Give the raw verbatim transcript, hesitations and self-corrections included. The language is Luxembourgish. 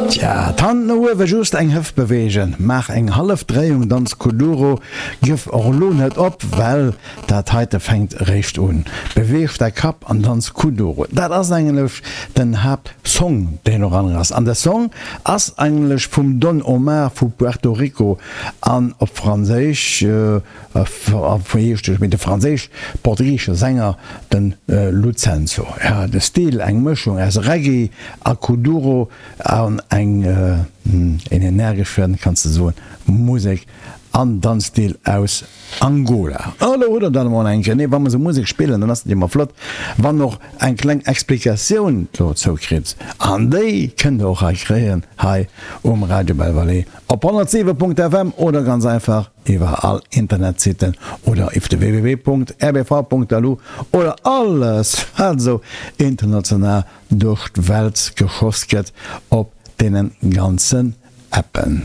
Tja, d'Hand no uewe, just eng Hëft beweegen, maach eng hallef Dréiung, danz Kuduro, gëff och elo net op, well dat heite fänkt eréischt un. Beweeg däi Kapp an danz Kuduro. Dat ass eigentlech den Haaptsong, deen doranner ass. An de Song ass eigentlech vum Don Omar vu Puerto Rico an op Franséisch, wéi heescht de, de franséisch-portugisesche Sänger, de Lucenzo. Jo, de Stil, eng Mëschung aus Reggae a Kuduro an eng een energeschen, kanns de soen, Musek an Danzstil aus Angola. Elo hutt der dat emol eng Kéier. Nee, wa mer esou Musek spillen, dann ass et ëmmer flott, wann och eng kleng Explikatioun dozou kritt. An déi kënnt der och hei kréien, hei um Radio Belle Vallée op honnertsiwe Punkt F M oder ganz einfach iwwer all Internetsiten oder iwwer de W W W Punkt R B V Punkt L U oder alles, wat esou international duerch d'Welt geschoss gëtt op deene ganzen Appen.